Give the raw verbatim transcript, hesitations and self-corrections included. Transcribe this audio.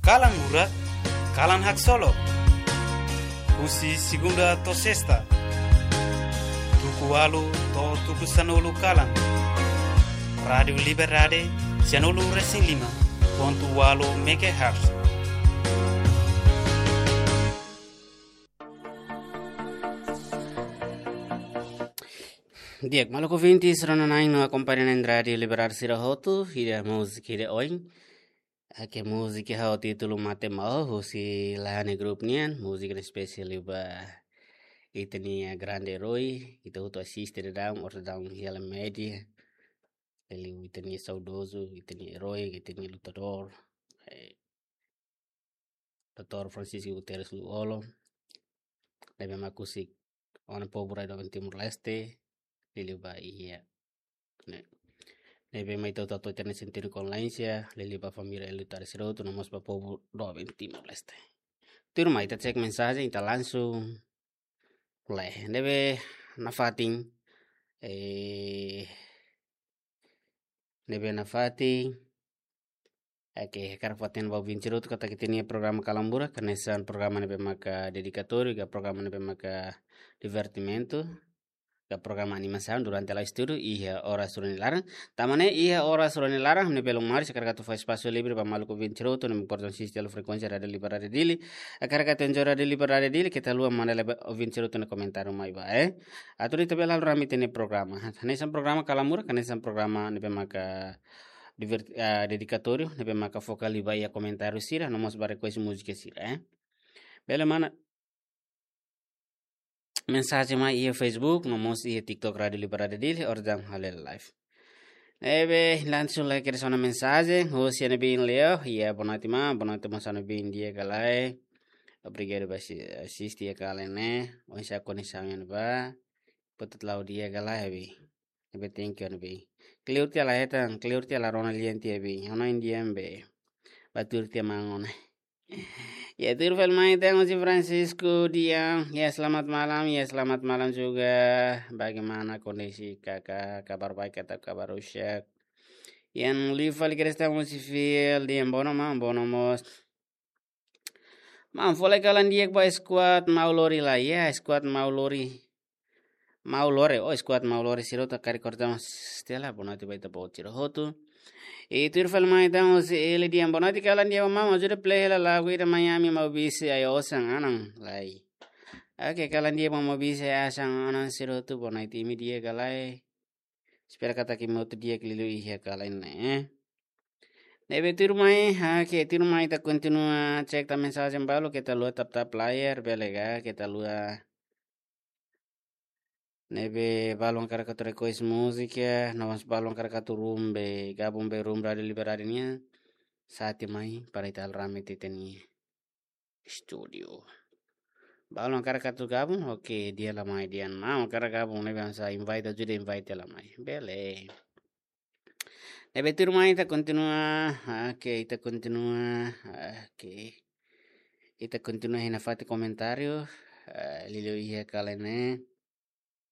Kalan Murak, kalan haksolok. Husi segunda to'o sesta, tuku ualu to'o tuku sanulu kalan. Rádiu Liberdade, sanulu resin lima pontu ualu megahertz. Di'ak, maluk ouvintes, rona-na'in no akompaña na'in Rádiu Liberdade sira hotu, ida múzika ida oin. Ake múzika ho títulu Mate Maho, husi Lahane Group nian, múzika ne'e espesiál ba ita-nia grande erói, ita hotu asiste daudaun, orsida daudaun hela média. Liuliu ita-nia saudozu, ita-nia erói, ita-nia lutadór, eh, doutór Francisco Guterres Lú-Olo, ne'ebé mak husik ona povu rai doben Timor-Leste, liuliu ba iha ne'e. Ne'ebé mak ita hotu atu hatene sentidu kondolénsia, liuliu ba família, eldu, tare sira hotu, no mós ba povu doben Timor-Leste. Tuirmai ita cek mensajen, ita langsung lee. Ne'ebé nafatin, eh, ne'ebé nafatin, oke, hakarak fó-hatene ba ouvinte sira hotu katak ita-nia programa Kalan Murak, hanesan programa ne'ebé maka dedikatóriu, ka programa ne'ebé maka divertimentu, ka programa animasaun durante la'o estudu, iha oras rua nia laran. Tanba ne'e iha oras rua nia laran, ne'e belun mari, hakarak atu fó espasu livre ba maluk ouvinte sira hotu, ne'ebé portan sisi hela frekuénsia Rádiu Liberdade Dili. Hakarak atu enjoy Rádiu Liberdade Dili, keta haluha manda lai ba ouvinte sira hotu nia komentáriu mai ba, eh. Atu ita bele halo rame ita-nia programa. Hanesan programa Kalan Murak, hanesan programa ne'ebé maka divert-, ah, dedikatóriu, ne'ebé maka foka liu ba iha komentáriu sira, no mós ba request múzika sira, eh. Bele mana mensajen mai iha Facebook, no mós iha TikTok Rádiu Liberdade Dili, orsida daudaun halo live. Ne'ebé langsung lai kedas ona mensajen, husi Ana Bin Leo, iha boa noite ma, boa noite mós Ana Bin, di'ak ka lae. Obrigadu ba asi-, asiste iha kalan ne'e, oinsá koneksaun iha ne'ebá, potut la'o di'ak ka lae, Ana Bin. Ne'ebé thank you, Ana Bin. Kleur tiha la hetan, kleur tiha la rona lian tiha, Ana Bin. Ona indian be. Ba tuir tiha mangon. Ya, tuir fali mai ita-nia husi Francisco Dian. Ya, selamat malam. Ya, selamat malam juga. Bagaimana kondisi kakak? Kabar baik atau kabar rusak? Yang liu fali kedas ita-nia husi Fil Dian, bono ma, bono mós. Maun, fó lai kalan di'ak ba squad Maulori lai, ya, squad Maulori. Maulori, oh, squad Maulori sira hotu karik korta mas Stella, boa noite ba ita-boot sira hotu. I tuir fali mai ita-nia husi Eli Dian, boa noite kalan di'ak ba maun, ajuda play hela lagu ida Miami Maubisse, Ai Osan Anan lai. Oke, kalan di'ak ba Maubisse, Ai Osan Anan sira hotu, boa noite, imi di'ak ka lae. Espera katak imi hotu di'ak liuliu iha kalan ne'e. Ne'ebé tuirmai, oke, tuirmai ita kontinua cek tan mensajen balu, keta haluha tap-tap layar, bele ka, keta haluha. Ne'ebé balu hakarak atu request múzika, no mós balu hakarak atu room be, gabung be room Rádiu Liberdade nian, sa'e tiha mai, para ita halo rame ita-nia estúdiu. Balu hakarak atu gabung, oke, di'ak la mai, di'ak, maun hakarak gabung, ne'ebé hanesan invite, ajuda invite la mai. Bele. Ne'ebé tuirmai ita kontinua, oke, ita kontinua, oke. Ita kontinua iha nafatin komentáriu, eh, liuliu iha kalan ne'e.